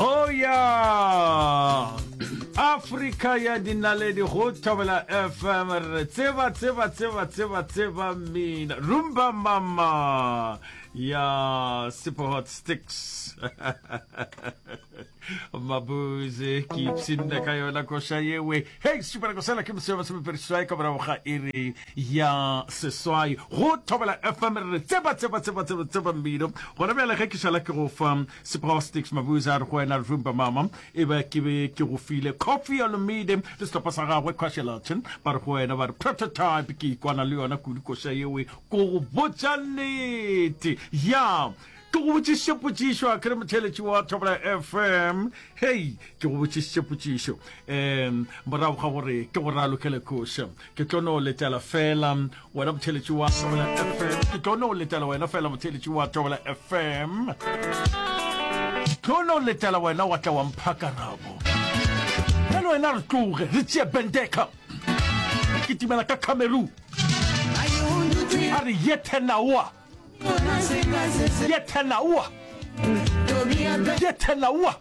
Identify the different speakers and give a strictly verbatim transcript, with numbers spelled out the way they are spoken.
Speaker 1: Oh ya Afrika ya dinaledi go Thobela F M, re tseba tseba tseba tseba tseba mina Rumba Mama ya Super Hot Sticks Mabuze, ke ipshinne ka yona koša yewe. Hei, šupela kosela ke moseo masomepedi seswai ka morago ga iri ya seswai go Thobela F M. Re tseba tseba tseba tseba tseba mmino gona bjale. Ge ke šala ke go fa Super Hot Sticks Mabuze a re go wena Rumba Mama, e be ke be ke go file Coffee Olomide le sehlopha sa gagwe Quashelton, ba re go wena ba re Prototype. Ke ikwana le yona kudu koša yewe, ko go botša nnete. Ya ke go botšiše potšišo, a kere motheletši wa Thobela F M? Hei, ke go botšišitše potšišo um morago ga gore ke go ralokele koša. Ke tlo no letela fela wena motheletši wa Thobela F M, ke tlo no letela wena fela motheletši wa Thobela F M, tlo no letela wena wa tla wa mpha karabo. Bjale wena re tloge re tšee bendeka, re kitimela ka Cameroon, a re yethenaoa yethenaoa yethenaoa.